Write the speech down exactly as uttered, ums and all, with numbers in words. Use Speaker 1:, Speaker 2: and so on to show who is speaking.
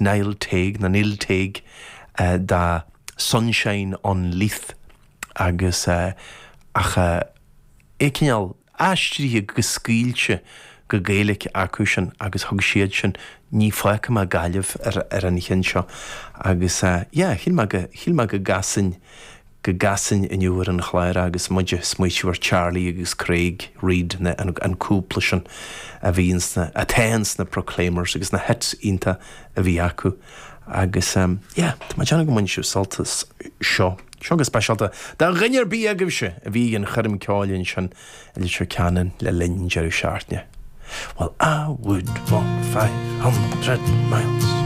Speaker 1: Niall Tague nó Neil Tague uh, da Sunshine on Leith agus uh, ach uh, é cineál aistrithe go scaoilte go Gaeilge acu sin agus thug siad sin ní fágfaidh mé Gaillimh ar, ar an cheann seo agus uh, yeah, shíl mé go shíl mé go gcasfainn go gcasfainn inniu ar an chlár agus muid ag smaoineamh ar Charlie agus Craig Reid na, an, an cúpla sin a bhí sna atá sna Proclaimers agus na hits iontacha a bhí acu agus um, yeah, Tá má go mbain sibh sult as seo. Seo go speisialta do dhuine ar bith agaibhse a bhí an choirm ceoil sin i Leitir Ceanainn le linn deireadh seachtaine. Well, I would walk five hundred miles.